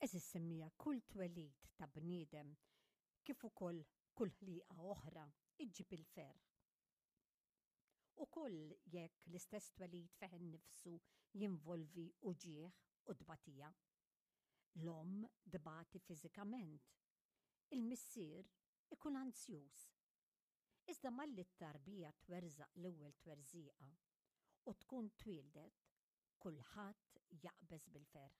Għeżież semmiegħa, kull twelid ta' bniedem kif ukoll kull ħliqa oħra iġġib il-ferħ. Ukoll jekk l-istess twelid fih innifsu jinvolvi uġigħ u tbatija. L-omm tbati fiżikament. Il-missier ikun anzjuż. Iżda malli t-tarbija twerżaq l-ewwel twerżiqa u tkun twieldet, kulħadd jaqbeż bil-ferħ.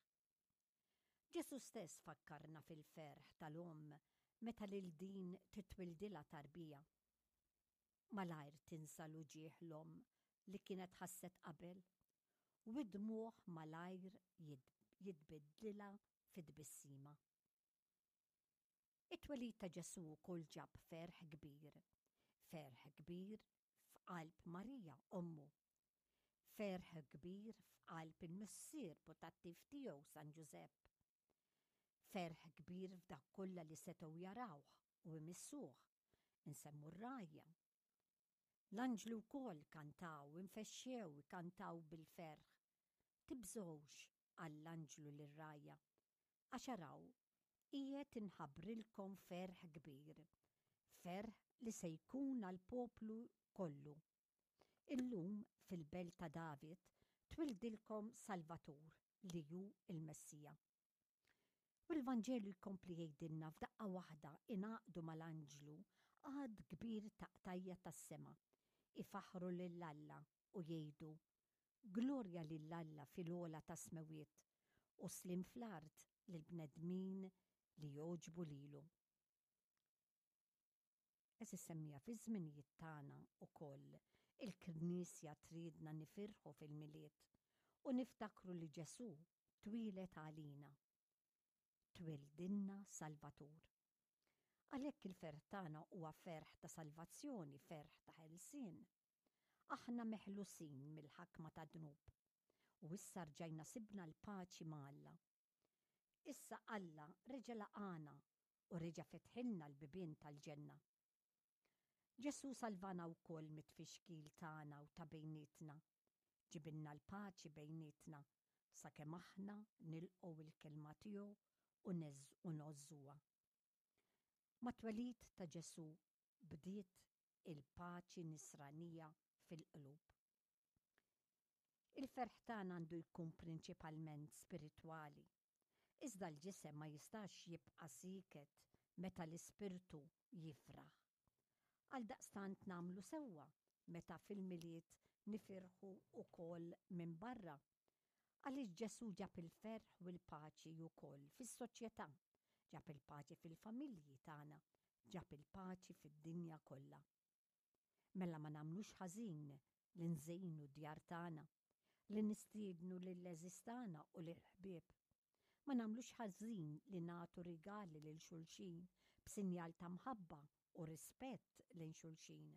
Ġesù stess fakkarna fil-ferħ tal-omm meta lil din titwildilha tarbija. Malajr tinsa l-uġigħ l-omm li kienet ħasset qabel, u d-dmugħ malajr jitbiddlilha fi tbissima. It-twelid ta' Ġesù wkoll ġab ferħ kbir, ferħ kbir f'qalb Marija, ommu. Ferħ kbir f'qalb il-missier putattiv tiegħu San Ġużepp. Ferħ kbir f'dak kollha li setgħu jarawh u jmissuh, insemmu r-rgħajja. L-anġli wkoll kantaw, infexxew ikantaw bil-ferħ. Tibżgħux, qal l-anġlu lir-rgħajja, għax araw, qiegħed inħabbrilkom ferħ kbir, ferħ li se jkun għall-poplu kollu. Illum fil-belt ta' David twildilkom Salvatur li hu l-Messija. U l-Vanġelu jkompli jgħidilna f'daqqa waħda ingħaqdu mal-anġlu għadd kbir ta' qtajja' tas-sema, ifaħħru lil Alla u jgħidu, Glorja lil Alla fil-ogħla tas-smewwiet, u sliem fl-art lill-bnedmin li jogħġbu lilu. Għeżież semmiegħa fiż-żminijiet tagħna wkoll il-Knisja tridna nifirħu fil-Milied u niftakru li Ġesù twieled għalina. Twildilna Salvatur. Għalhekk il-ferħ tagħna huwa ferħ ta' salvazzjoni, ferħ ta' ħelsien. Aħna meħlusin mill-ħakma tad-dnub u issa rġajna sibna l-paċi ma' Alla. Issa Alla reġa' laqagħna u reġa' fetħilna l-bibien tal-ġenna. Ġesù salvana wkoll mit-tfixkil tagħna u ta' bejnietna. Ġibilna l-paċi bejnietna sakemm aħna nilqgħu l-kelma tiegħu u ngħożżuha. Mat-twelid ta' Ġesù bdiet il-paċi nisranija fil-qlub. Il-ferħ tagħna għandu jkun prinċipalment spiritwali. Iżda l-ġisem ma jistax jibqa' sieket meta l-ispirtu jifraħ. Għaldaqstant nagħmlu sewwa meta fil-Milied nifirħu wkoll minn barra. Għaliex Ġesù ġab il-ferħ u l-paċi wkoll fis-soċjetà, ġab il-paċi fil-familji tagħna, ġab il-paċi fid-dinja kollha. Mela ma nagħmlux ħażin li nżejnu d-djar tagħna, li nistiednu lill-għeżież tagħna u lill-ħbieb. Ma nagħmlux ħażin li nagħtu rigali lil xulxin b'sinjal ta' mħabba u rispett lejn xulxin.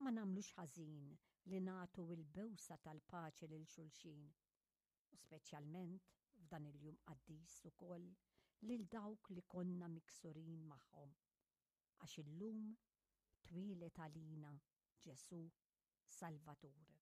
Ma nagħmlux ħażin li nagħtu l-bewsa tal-paċi lil xulxin, u speċjalment f'dan il-jum qaddis ukoll lil dawk li konna miksurin magħhom. Għax illum twieled għalina Ġesù Salvatur.